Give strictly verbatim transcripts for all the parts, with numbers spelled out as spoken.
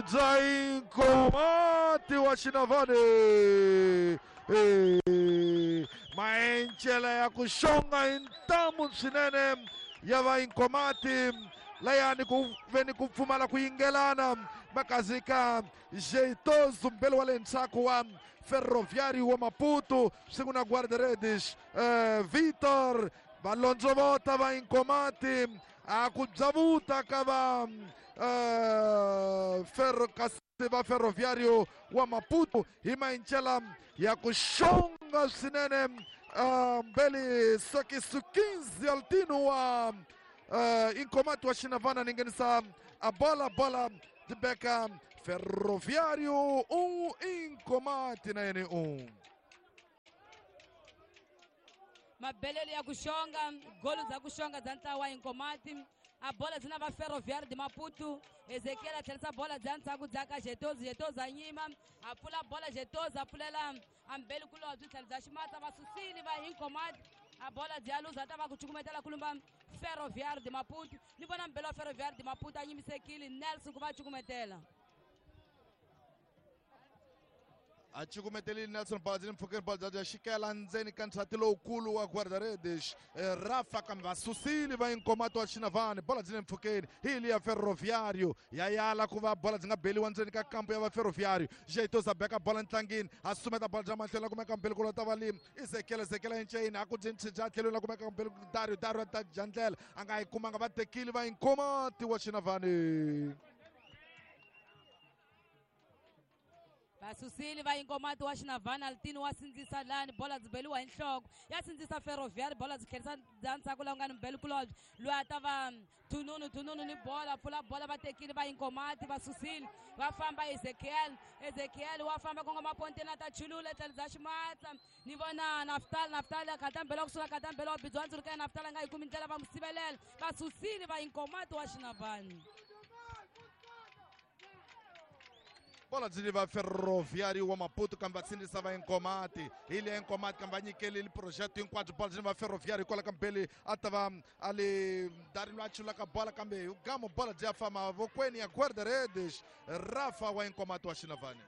Bya Inkomati wa Xinavane. Maencela ya ku xonga hi ntamu swinene ya va Inkomati layani ku veni ku pfumala ku yingelana makazika Jeitoso mbele wa le ndzhaku wa Ferroviário wa Maputo siku na guarda-redes eh, Vitor valondzovota va Inkomati a ku byavuta ka va eh, Ferro kasi va Ferroviário wa Maputo hi maencela ya ku xonga swinene uh, mbele sokisu quinze Altino wa uh, Inkomati wa Xinavana ni nghenisa a bola bola dibeka Ferroviário um, Inkomati na yene um. Mabelelo ya ku xonga golo za ku xonga bya ntlawa wa Inkomati a bola byi na va Ferroviário de Maputo. Ezekiel a tlherisa bola bya ndzhaku bya ka Jetozo, Jetozo a nyima a pfula bola, Jetozo a pfulela ambeli kulobye tlhelo bya ximatsa va susile va Inkomati a bola bya luza ta va ku cukumetela kulumba Ferroviário de Maputo. Ni vona mbele wa Ferroviário de Maputo a nyimisekile Nelson ku va cukumetela. A cukumetelile Nelson bola byi mpfhukeni bola bya xikela ndzeni ka ndzhati lowukulu wa guarda-redes Rafa kambe va susile va Inkomati wa Xinavane bola byi le mpfhukeni hi liya Ferroviário ya yala ku va bola byi nga beliwa ndzeni ka kampo ya va Ferroviário. Jeitoso a beka bola ntlangini a sumeta bola bya mahlweni la kumeka mbele kulota va limi Ezekiel Ezekiel enceni a ku byi ntshija tlhelweni la kumeka mbele Dario Dario ta dya ndlela a nga yi kumanga va tekile va Inkomati wa Xinavane. Vasusile va Inkomati wa Xinavana Altino wa sindzisa lani bola byi beliwa hi nhloko ya sindzisa Ferroviário bola byi tlherisa bya ndzhaku la ku nga ni mbele kulobye loyi a ta va Thununu Thununu ni bola pfula bola va tekile va Inkomati va susile va famba Ezekiel Ezekiel wa famba kongoma ponteni a ta chulula tlhelo bya ximatsa ni vona Naftal Naftal a khata mbele wa kusuka khata mbele wa bidzi wa ndzuluka ya Naftal a nga yi kumi ndlela va n'wi sivelela va susile va Inkomati wa Xinavana. Bola byi va Ferroviário wa Maputo kambe va sindzisa va Inkomati hi liya Inkomati kambe va nyikelile project hinkwabyo bola byi va Ferroviário hikwalaho ka mbele a ta va a le Dario a chulaka bola kambe hi gamo bola byi ya famba mavokweni ya guarda-redes Rafa wa Inkomati wa Xinavane.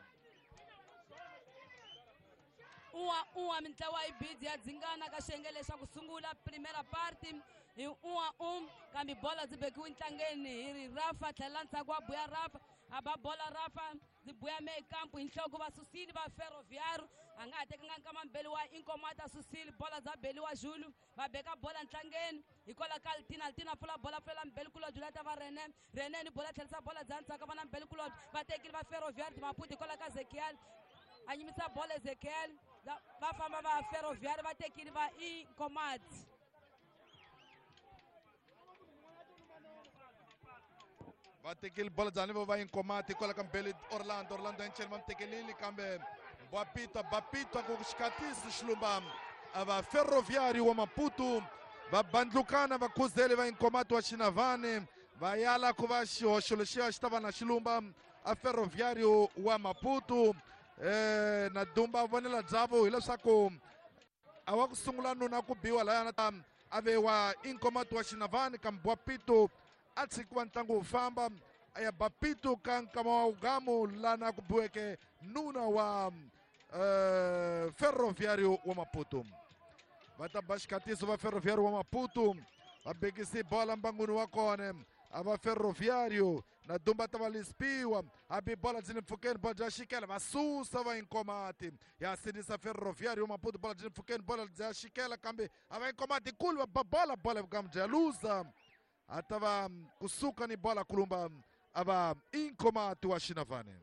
Un'wa un'wa mintlawa yi bidi ya dzingana ka xiyenge lexa ku sungula primera parte hi un'wa um kambe bola byi bekiwe ntlangeni hi ri Rafa tlhela ndzhaku wa buya Rafa a ba bola Rafa byi buya mekampu hi nhloko va susile va Ferroviário a nga ha tekanga nkama mbele wa Inkomati a susile bola bya beliwa Julu va beka bola ntlangeni hikwalaho ka Altina Altina pfula bola pfulela mbele kulobye la ta va Rene Rene ni bola tlherisa bola bya ndzhaku va na mbele kulobye va tekile va Ferroviário de Maputo hikwalaho ka Ezekiel a nyimisa bola Ezekiel va famba va Ferroviário va tekile va Inkomati. Va tekile bola bya vo va Inkomati hikwalaho ka mbele Orlando Orlando enceni va mi tekelile kambe Bapitwa Bapitwa ku xikatisi xilumba a va Ferroviário wa Maputo va bandlukana va khuzele va Inkomati wa Xinavane va yala ku va xihoxo lexiya xi ta va na xilumba a Ferroviário wa Maputo. Eh, na dumba vonela byavo hileswaku a wa ku sungula nuna ku biwa layana ta a ve wa Inkomati wa Xinavane kambe Bapito a tshikiwa ntlangu wu famba a ya Bapito ka nkama wa ugamu lana ku biweke nuna wa eh, Ferroviário wa Maputo. Va ta ba xikatiso va Ferroviário wa Maputo va bekisi bola mbangwini wa kona a va Ferroviário na dumba ta va lispiwa a bi bola byi le mpfhukeni bola bya xikela va susa va Inkomati ya sindzisa Ferroviário wa Maputo bola byi le mpfhukeni bola bya xikela kambe a va Inkomati kulu va ba bola bola vugamu bya luza a ta va kusuka ni bola kulumba a va Inkomati wa Xinavane.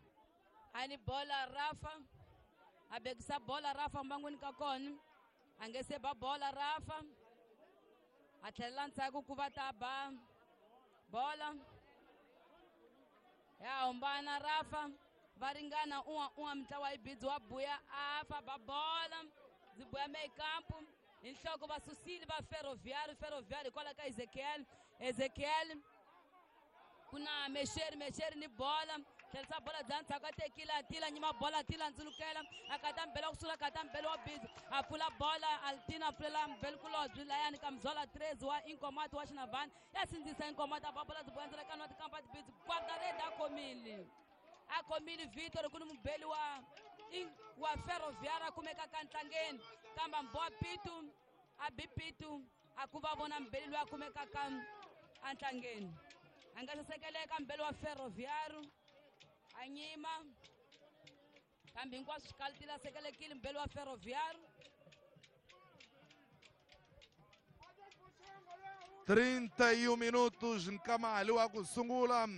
A ni bola Rafa a bekisa bola Rafa mbangwini ka kona a nge se ba bola Rafa a tlhelela ndzhaku ku va ta ba bola ya humbana Rafa va ringana un'wa un'wa mintlawa yi bidzi wa buya afa ba bola byi buya mekampu hi nhloko va susile va Ferroviário Ferroviário hikwalaho ka Ezekiel Ezekiel ku na Mexeri Mexeri ni bola tlherisa bola bya ndzhaku a tekile a tila nyima bola a tila ndzulukela a kata mbele wa kusula kata mbele wa bidzi a pfula bola Altina a pfulela mbele kulobye layani ka Mzola Trezi wa Inkomati wa Xinavane ya sindzisa Inkomati a ba bola byi buya ndzela ka nwa tikampa tibidzi guarda-redes a khomile. A khomile Vitor ku ni mubeli wa wa Ferroviário a kumekaka ntlangeni kambe Mboa Pitu a bi Pitu a ku va vona mbeli loyi a kumekaka entlangeni. A nga sasekeleka mbeli wa Ferroviário a nyima kambe hinkwaswo swikalitile a sekelekile mbeli wa Ferroviário. trinta e um minutos Nkamali wa ku sungula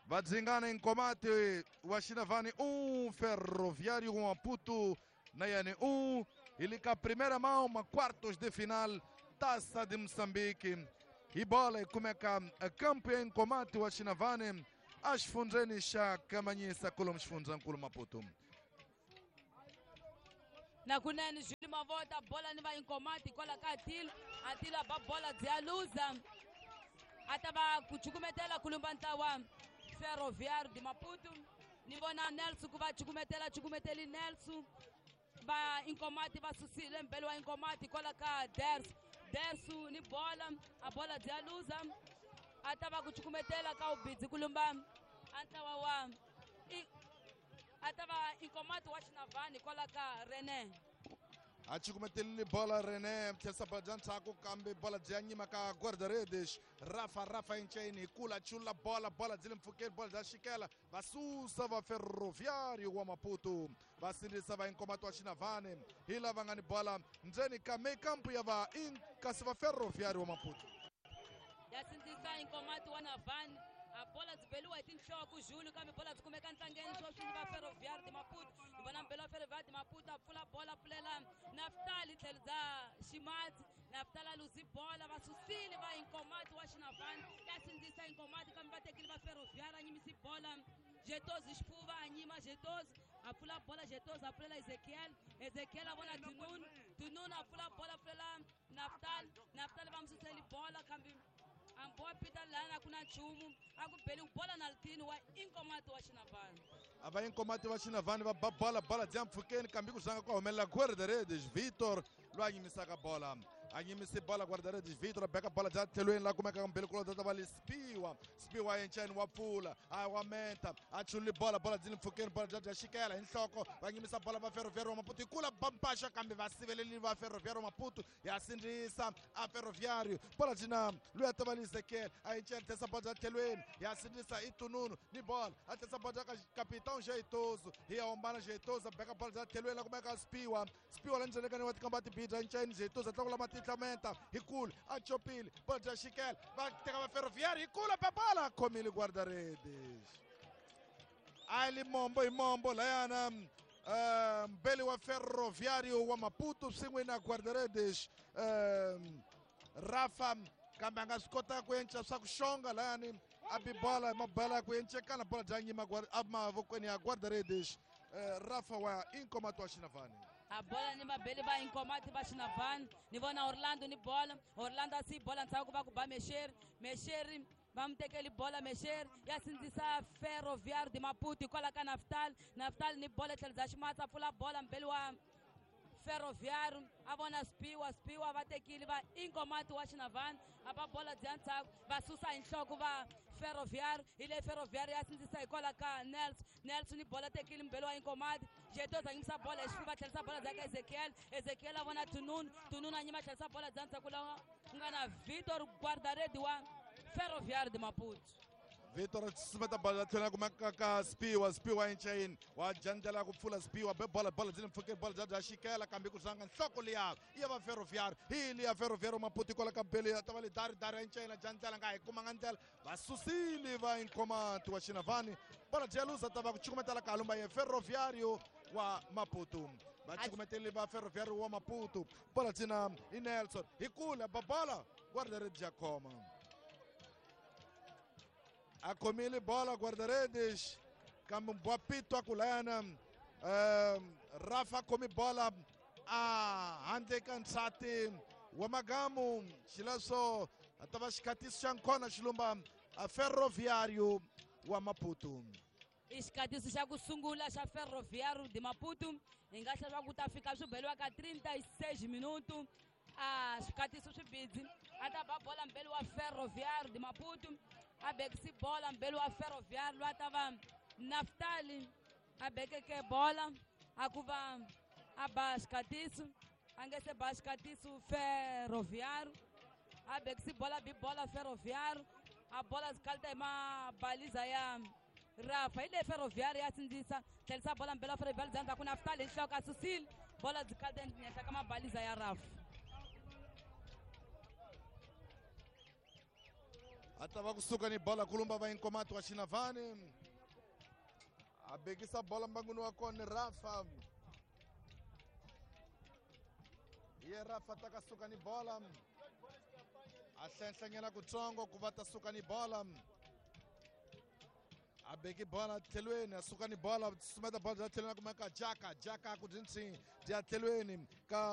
Vadzingana Nkomati wa Xinavane um, Ferroviário um, Maputo na Yane um. Ele com a primeira mão, uma quartos de final, Taça de Moçambique. E bola e como é que a campeã Nkomati wa Xinavane as fundzeni xa Kamanyisa kulo mxifundzankulu Maputo. Na kunene Júlio Mavota bola ni va Nkomati kwala ka Atilo. Atilo ba bola bya luza. Atava ku chukumetela kulumba ntlawa Ferroviário de Maputo. Ni vona Nelson ku va chukumetela chukumeteli Nelson. Va Nkomati va susile mbele wa Nkomati kwala ka Dersu. Dersu ni bola, a bola bya luza. Atava ku chukumetela ka ubidzi kulumba antlawa wa atava Nkomati wa Xinavane kwala ka René. A chukumetelile bola René tlhesa bola bya ndzhaku kambe bola bya nyima ka guarda-redes Rafa Rafa Enchaini hi kula chula bola bola byi le mpfhukeni bola bya xikela va susa va Ferroviário wa Maputo va sindzisa va Nkomati wa Xinavane hi lava nga ni bola ndzeni ka mekampu ya va kasi va Ferroviário wa Maputo ya sindzisa Nkomati wa Navane. A bola byi beliwa hi tinhloko Júlio kambe bola byi kumeka ntlangeni sweswi ni va Ferroviário de Maputo. Ni vona mbele wa Ferroviário de Maputo a pfula bola pfulela Naftali tlhelo bya Ximatsi. Naftali a luzi bola va susile va Nkomati wa Xinavane ya sindzisa Nkomati kambe va tekile va Ferroviário a nyimisi bola Jetozi xifuva a nyima Jetozi a pfula bola Jetozi a pfulela Ezekiel. Ezekiel a vona Tununu. Tununu a pfula bola pfulela Naftali. Naftali va mu suseli bola kambe Amboa Peter lana kuna nchumu a ku beli bola na litini wa Nkomati wa Xinavane. A va Nkomati wa Xinavane va ba bola bola bya mpfhukeni kambe ku zanga ku humelela guarda-redes Vitor loyi a nyimisaka bola. A nyimise bola guarda-redes Vitor a beka bola bya tlhelweni la kumekaka mbele ku ta va le Spiwa. Spiwa Enchaini wa pfula a wa menta a chulile bola bola byi le mpfhukeni bola bya bya xikela hi nhloko va nyimisa bola va Ferroviário wa Maputo hi kula bampaxa kambe va siveleli va Ferroviário wa Maputo ya sindzisa a Ferroviário bola byi na loyi a ta va le Ezekiel a Enchaini tlhesa bola bya tlhelweni ya sindzisa i Tununu ni bola a tlhesa bola bya Capitão Jeitoso hi ya hombana Jeitoso a beka bola bya tlhelweni la kumeka Spiwa. Spiwa la ndzhenekani wa tikamba tibidra Enchaini Jeitoso a tlakula matihlamenta hi kulu a chopile bola bya xikela va teka va Ferroviário hi kula ba bola a khomile guarda-redes a li mombo hi mombo layana mbele wa Ferroviário wa Maputo swin'we na guarda-redes Rafa kambe a nga swi kota ku enca swa ku xonga layani a bi bola mabola ku encekana bola bya nyima emavokweni ya guarda-redes Rafa wa Nkomati wa Xinavane. A bola ni mabeli va Nkomati va Xinavane. Ni vona Orlando ni bola. Orlando a si bola ndzhaku va ku ba Mexeri. Mexeri va mu tekeli bola Mexeri ya sindzisa Ferroviário de Maputo kwala ka Naftali. Naftali ni bola tlhelo bya Ximatsi a pfula bola mbeli wa Ferroviário a vona Spiwa. Spiwa va tekile va Nkomati wa Xinavane a ba bola bya ndzhaku va susa hi nhloko va Ferroviário. Hi le Ferroviário ya sindzisa hikwalaho ka Nelson. Nelson ni bola tekile mbele wa Nkomati. Jetoza nyimisa bola hi xifuva tlherisa bola bya ka Ezekiel. Ezekiel a vona Tununu. Tununu a nyima tlherisa bola bya ndzhaku laha ku nga na Vitor guarda-redes wa Ferroviário de Maputo. Vitor susumeta bola tlhela kumeka ka Spiwa. Spiwa Enchaini wa jandlela ku pfula Spiwa be bola bola byi le mpfhukeni bola bya bya xikela kambe ku zanga nhloko liya ya va Ferroviário hi liya Ferroviário Maputo kwala ka bele ya ta va le dari dari Enchaini a jandlela nga hi kumanga ndlela va susile va Nkomati wa Xinavane bola bya luza ta va ku chukumetela ka lumba ya Ferroviário wa Maputo va chukumetele va Ferroviário wa Maputo bola byi i Nelson hi kula ba bola guarda-redes ya khoma a khomile bola guarda-redes kambe Mbwapito a ku layana Rafa khomi bola a handle ka nsati wa magamu xileswo a ta va xikhatiso xa nkhona xilumba a Ferroviário wa Maputo. I xikhatiso xa ku sungula xa Ferroviário de Maputo hi nga hlaya ku ta fika swi beliwa ka trinta e seis minuto a xikhatiso swi bidzi a ta ba bola mbeli wa Ferroviário de Maputo a bekisi bola mbeli wa Ferroviário loyi a ta va Naftali a bekeke bola a ku va a ba xikatiso a nge se ba xikatiso Ferroviário a bekisi bola bi bola Ferroviário a bola zikalita hi mabaliza ya Rafa hi leyi Ferroviário ya sindzisa tlhelisa bola mbela Ferroviário bya ndzhaku Naftali hi nhloko a susile bola zikalita henhla ka mabaliza ya Rafa. A ta va kusuka ni bola kulumba va Inkomati wa Xinavane a bekisa bola mbangwini wa kona Rafa ye Rafa ta ka suka ni bola a hlenhlanyela kutsongo ku va ta suka ni bola a beki bola tlhelweni a suka ni bola sumeta bola bya tlhelweni a kumeka Jaka Jaka ku byi bya tlhelweni ka